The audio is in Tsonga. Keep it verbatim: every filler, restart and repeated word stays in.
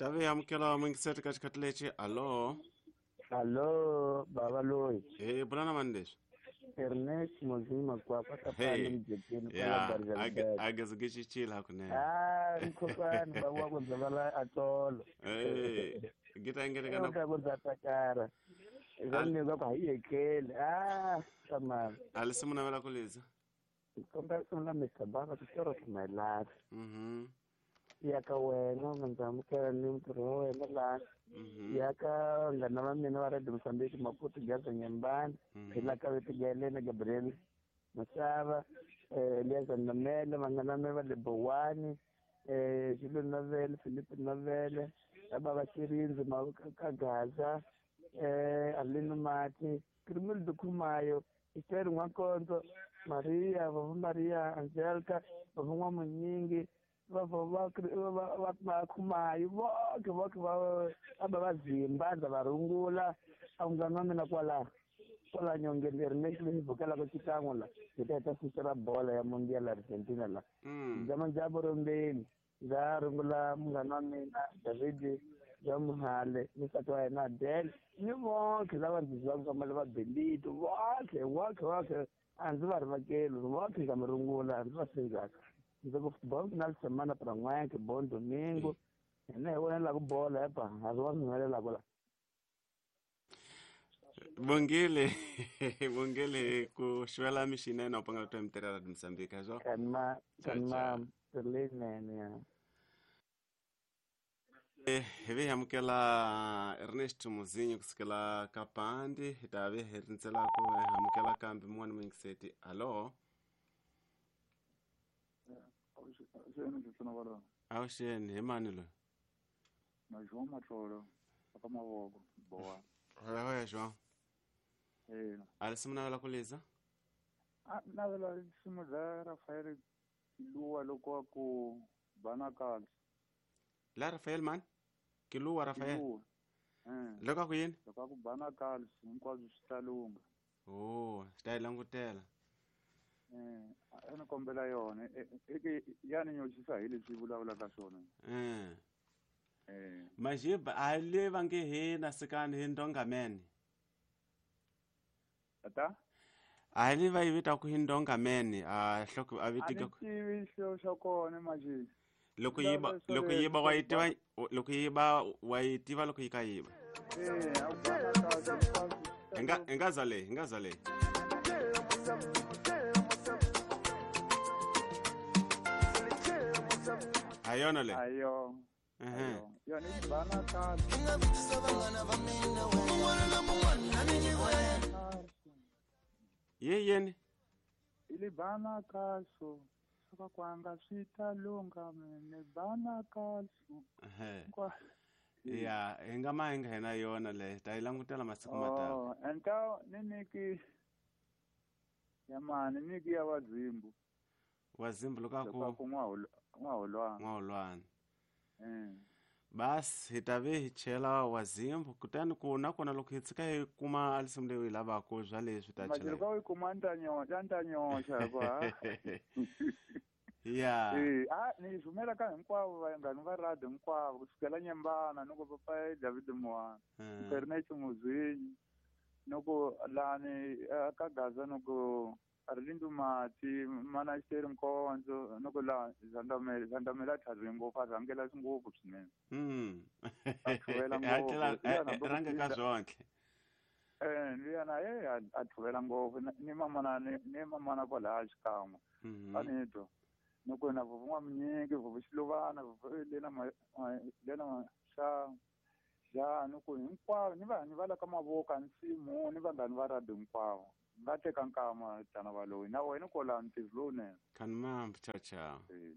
Tavi amukela mingiseti ka xikhathi lexi. Allo. Allo, baba loyi. Eh, bulana mani leswi? Ernest Mozima Kwapa kapani mjekeni kwa Barza. Ageze gichichila hakunene. Ah, mkhokani baba wa kuzabala atolo. Eh, gita ngene kana kwa kuzatakara. Ngani kwa hiyekele. Ah, tamam. Alisimuna vela kuliza. Komba sona Mister Baba kutoro my life. Mhm. Yaka wena ngamukela ni mtirho wa wena la. Yaka ngana va mina va Radio Mozambique Maputo Gaza Nyambani phela ka Vetigele na Gabriel Masava eh Elias Namela vangana me va le Bowani eh Jules Novele Philippe Novele baba Shirinzi Mawuka Gaza eh Aline Mati Krimil Dukumayo Esther Nwakonzo Maria Vava Maria Angelica Vava Nwamunyingi va va va va khumayo vonke vonke va aba vazimba ndza va rungula a munghana wa mina kwala kwala nyongeni Ernest leyi vhukelaka xikan'we la hi ta heta siku ra bola ya Mundial Argentina la ndza manjabo rombeni ndza rungula munghana wa mina David ya Muhale ni nsati wa yena Adele ni vonke lava ndzi zivaka swa mali va Belito vonke vonke vonke a ndzi va rivakeli vonke ndza mi rungula ndzi va sindzaka. Ndzi bom final de semana para n'wanke bom domingo ene hi vona la ku bola epa a swi va swi humelelaka la. Bongile bongile ku xivela mixinene u panga ku twa Radio Mozambique zwo kanma kanma leyinene ya. Eh hi vi amukela Ernest Muzinyo kusukela ka Pandi hi ta vi hi rindzela ku amukela kambe mun'wana muyingiseti. Allo. Awuxeni hi mani loyi? Na João Matlolo aka mavoko bowa. Hoya João. Eh. Alisimu navela kuliza? A navela risimu ra Rafael Kiluwa loko a ku bana kahle. La Rafael man? Kiluwa Rafael. Kiluwa. Eh. Loko a ku yini? Loko a ku bana kahle hinkwaswo swi ta lungha. Oh, swi ta yi langutela. Eh, a ni kombela yona eke ya ni nyoxisa hi leswi vulavulaka swona. Eh. Eh. Majiba a le va nge he na sikani hi ndonga mene. Ata? A le va yi vita ku hi ndonga mene a hloko a vitika ku. A ni tivi xilo xa kona majiba. Loko yi ba loko yi ba wa yi tiva loko yi ba wa yi tiva loko yi ka yi ba. Eh, a ku Nga nga zale, nga zale. Ayona le. Ayo. Eh. Yona i bana kahle. Ye yeni. Ile bana kahle. Soka kwanga swi ta lungha mene bana kahle. Eh. Ya, hi nga ma hi nga hina yona le ta yi langutela masiku ma taka. Oh, enta ni niki ya mani niki ya vazimbu. Wazimbu loko ku ku n'waholwana. N'waholwana. Eh. Bas hi ta ve hi chela wazimbu kutani ku na kona loko hi tshika hi kuma alisimu leyi u yi lavaka bya leswi ta chela. Majelo ka u yi kuma ni ta nyoxa ni ta nyoxa hikuva. Ya. Eh, a ni rhumela ka hinkwavo vanghani va radio hinkwavo kusukela Nyembana ni ku papa David Moana. Ernest Muzinyi ni ku lani ka Gaza ni ku Arlindo Mati mana Esther Nkonzo ni ku la Zandamela Zandamela tlhari ngopfu a rhangela ngopfu swinene. Mm. A tlhuvela ngopfu. Rhanga ka zonke. Eh, luyana eh a tlhuvela ngopfu ni mamana ni mamana kwalaya xikan'we. A ni twa. Noko na vuvu n'wamunyingi vuvu xiluvana vuvu lena lena xa xa noko hinkwavo ni vanhu va la ka mavoko nsimu ni vanghani va radio hinkwavo nga teka nkama tana valoyi na wena kwala ntirho lowunene. Kanmambi ciao ciao. Eh.